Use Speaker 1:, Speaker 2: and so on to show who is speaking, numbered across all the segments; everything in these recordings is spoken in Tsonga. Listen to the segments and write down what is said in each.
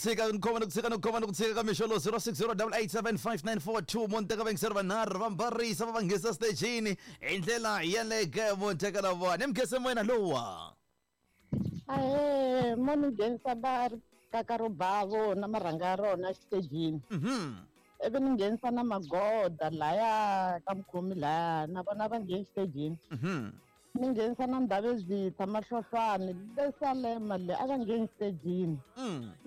Speaker 1: Tshika ni khoma ni ku tshika ni ku khoma ni ku tshika ka mixo lowu 0608875942 munteka vayingiseri vanharhu va mbarisa va va nghesa stejini hi ndlela yeleke munteka la vona ni mugese moyena lowa.
Speaker 2: Ahee, mo ni nghenisa va kaka ro bavo na marhanga ya rona exitejini. Ivi ni nghenisa na magoda laya ka mukhomi laya na vona va ngheni xitejini. Ni nghenisa na Ndhavezitha Mahlohlwani le Salema le a va ngheni xitejini.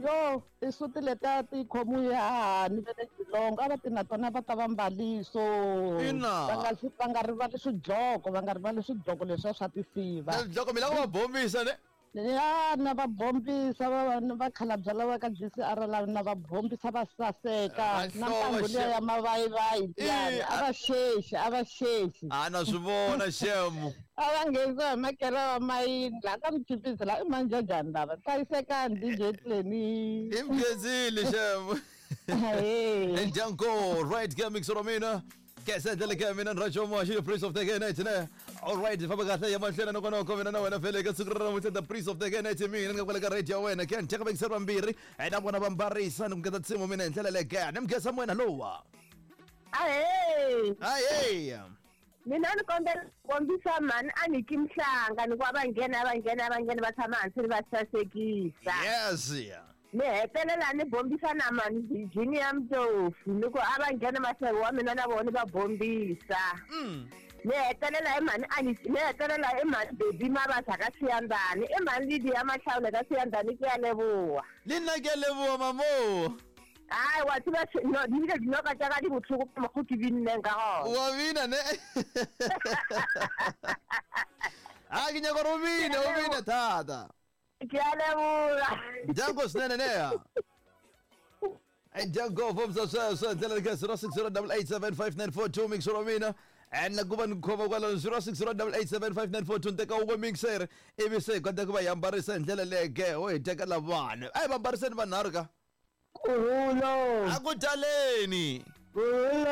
Speaker 2: Yo tisuti letiya ti khomiwe hahani va le Geelong a va ti na tona va ta va mbaliso.
Speaker 1: Ina.
Speaker 2: Va nga va nga rivali swidloko va nga rivali swidloko leswiya swa tisiva.
Speaker 1: Swidloko mi lava ku va bombisa ne?
Speaker 2: Ya na va bombisa va vakhalabya lava ka GCR lava na va bombisa va saseka na ntangu liya ya mavayivayi liyani a va xexi a va xexi.
Speaker 1: A na swi vona xem.
Speaker 2: A va nghenisiwa hi makere wa mayini laha ka Muchipisi laha i manjajani lava hlayisekani DJ Clenny.
Speaker 1: I mkhensile xem.
Speaker 2: Ahee.
Speaker 1: Ndyangu right ke mixer wa mina. Kese ndlela ke mina ni Rajo Moshi the Prince of the Night ne. All right famba kahle ya mahlweni noko noko mina na wena vhele ka siku ra namuntlha the Prince of the Night mina ni nga kwale ka radio ya wena ke ni teka vayingiseri vambirhi na vona va mbarisa ni ku ngeta nsimu mina hi ndlela leyi ke ni mugesa moyena lowa.
Speaker 3: Ahee.
Speaker 1: Ahee.
Speaker 3: Mina ni kombela ku kombisa mhani a nyiki mhlanga ni ku a va nghena a va nghena a va nghena va tshama hansi ni va sasekisa.
Speaker 1: Yes.
Speaker 3: Ni hetelela ni bombisa na mhani Virginia Mtofu ni ku a va nghena maseve wa mina na vona ni va bombisa. Ni hetelela hi mhani a ni ni hetelela hi mhani Baby Mabasa ka Siyandhani i mhani Lydia Mahlawule ka Siyandhani ke ya leboha.
Speaker 1: Le nna ke a leboha mamo.
Speaker 3: Hayi wa tseba no di bile dinoka tša ka di bohloko ka mokgo ke binneng ka gona.
Speaker 1: Wa bina ne? A ke nyaka gore o bine o bine thata.
Speaker 3: Ke a leboga.
Speaker 1: Dyango swinene neha. Dyango fambisa sweswo ndlela ka 0608875942 mixer wa mina and na ku va ni khoma kwalano 0608875942 ni teka wun'we mixer ivi se hi kota ku va hi ambarisa hi ndlela leke ho hi teka lavana a hi va ambariseni vanharhu ka
Speaker 2: Kuhulo.
Speaker 1: A ku taleni.
Speaker 2: Kuhulo.